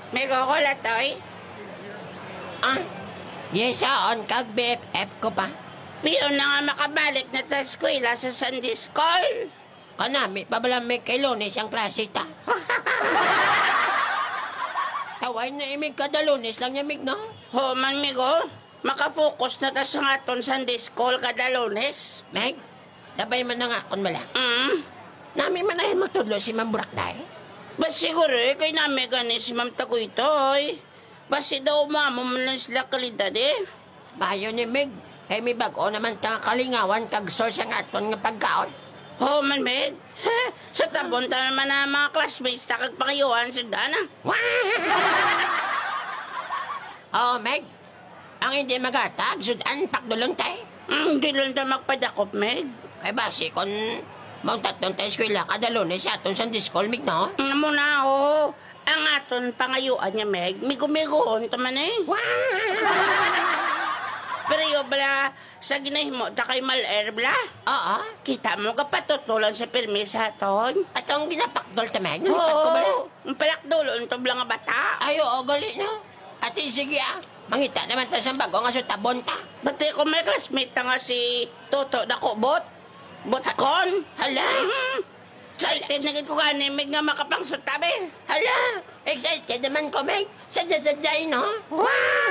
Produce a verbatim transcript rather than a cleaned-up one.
May gugol, Atoy? Ah, yes, on kag B F F ko pa. Piyon na nga makabalik na ta eskwela sa Sunday School. Kanami pa bala, Meg, kay Lunes ang klase ta. Taway na imig kada Lunes lang niya, Mig, no? Ho man, Migo. Makafocus na ta sa aton Sunday School kada Lunes. Meg, labay man ang akon bala. Mm. Nami man ay magtudlo si Ma'am Burak, day. Ba siguro, eh, kay nami gani si Ma'am Tagoytoy. Basi daw mamo man lang sila kalidad, eh. Bayo ni Mig, kay may bag-o naman ta nga kalingawan kag source ang aton nga pagkaon. Ho man, Mig. Sa tabon ta naman ang mga classmates ta kag pangayuan sud-an, ah. Oh, Meg, ang hindi maghatag, sud-an, pakdulon tay. Mm, di lang ta magpadakop, Meg. Kay basi kon mauntaton tay eskwela kada Lunes sa aton Sunday School, Mig, no? Ano mo na, oo. Ang aton pangayuan niya, Meg, migo-migoon ta man, eh. Pero yo bala, sa ginahimo ta kay Mal-air, bala? Oo. Kita mo, kapatutulan sa pirmi sa aton. Atong ginapakdol ta, Meg? Nalipad ko bala? Oo. Ang palakdulon to bala nga bata. Ay, oo, gali, no? Ati, sige, ah. Mangita naman ta sa bago nga sutabon ta. Pati ko may classmate ta nga si Toto Dakubot. Butkon. Hala. Mhm. Excited na gid ko gani, Mig, nga makapangsuta, be. Hala, excited naman ko, Meg. Sadya-sadya, eh, no? Wow!